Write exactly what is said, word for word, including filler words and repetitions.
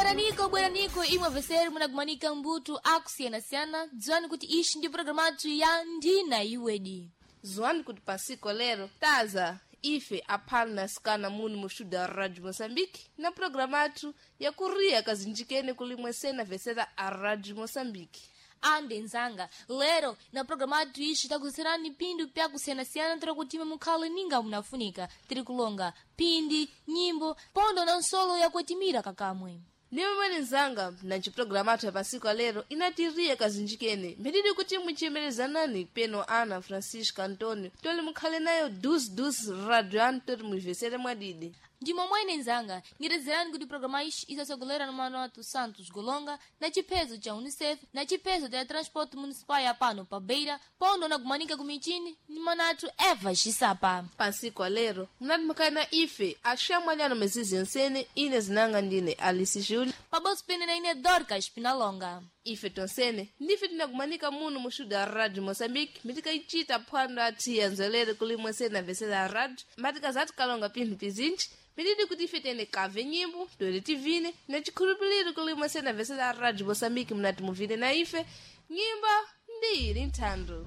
Bweraniko, bweraniko imwe veseri munagumanika mbuto akusiyana-siyana. Dziwani kuti ishi ndi programu athu ya Ndina Iwedi. Zuwani kuti pasiko lero taza ife aphano na sikana munu mu studio ya Radio Moçambique na programa athu yakuriya kazinjikene kulimwe sena vesera a Radio Moçambique. Ande nzanga, lero na programa athu ishi takuserani pindu pyakusiyana-siyana tira kutima mukhale ninga munafunika. Tiri kulonga pindi, nyimbo, pondo na nsolo yakutimira kakamwe. Nimwe nzanga na ciprograma athu ya pasiko lero inatiriya kazinjikene mbididi kuti muchiyemerezanani peno Ana Francisco Antonio toli mukhale nayo dus radio anu tori muivesere mwadidi. Ndimo mwene nzanga, ngirezerani kuti programa ishi isasogolera no mano athu Santos Golonga na chiphezo cha UNICEF na chiphezo cha Transporte Municipal ya pano pa Beira, pondo na kumanika kumichini ni mano athu Eva Xisapa. Pasiko lero munati mukhale na ife axamwaliano mezizi nsene ine zinanga ndine Alice Júlio Pabonso pene na ine Dorcas Pinalonga. Ife tonsene ndife tinakumanika muno mu studio ya Radio Moçambique mitikaichita phwando athu yanzolere kulimwe sena vesera ya radio matikazati kalonga pinthu pizinji mitidi kuti ife tiyende kave nyimbo toere tivine na chikhulupiriro kulimwe sena vesera ya Radio Moçambique munati muvine na ife nyimbo ndi ili nthando.